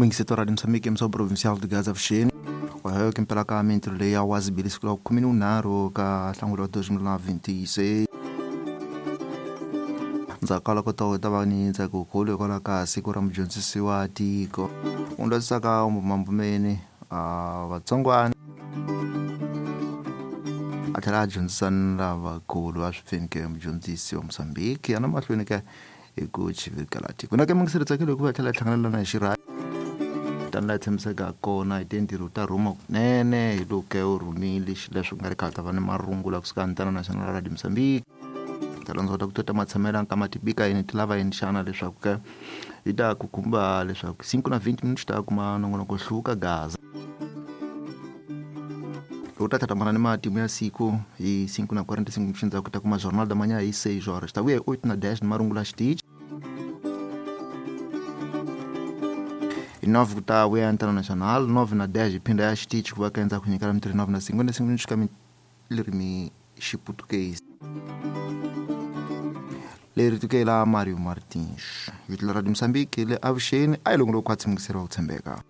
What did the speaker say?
Muyingiseti wa Radio Mozambique emissão provincial de Gaza Vuxeni wayo kimpela ka mintirho leyi ya wazibili siku la khume ni vunharhu ka nhlangula wa 2026. Ndzhaku ka loko to ta va ni ntsako wukulu hikwalaho ka siku ra mudyondzisi wa tiko u ndwazisaka mbumabumbeni vatsongwana a tlhela a dyondzisa ni lavakulu a swi pfeni ke mudyondzisi wa Mozambique a na mahlweni ka hi ku chivirikela tiko na ke mungiseri tsakile hikuva tlhela hlangana na hi xirha tani laha tshembisaka kona hi tintirho ta rhuma kunene hi loko u rhumile xileswo ku nga ri khale ta va ni marungula kusuka ntana national radio Mozambique ta landza kota ku tota matshamelo ka matibika yini ti lava yini xana leswaku ke yi ta ku khumba leswaku 5 na 20 minutes ta kuma nongonoko hluka gaza loko ta tlhatlhamana ni matimu ya siku hi 5 na 45 minutes ndzhaku ta kuma jornal da manhã hi 6 horas ta vuya hi 8 na 10 ni marungula xitichi hi 9 ku ta vuya ntana national 9 na 10 hi phinda ya xitichi ku va ka endzhaku nyikela mintirho 9 na 55 minutes ka ririmi xiputukezi leri tukela Mario Martins vito la Radio Mozambique le avuxeni a hi longolo khwatsi mungiseri wa ku tshembeka.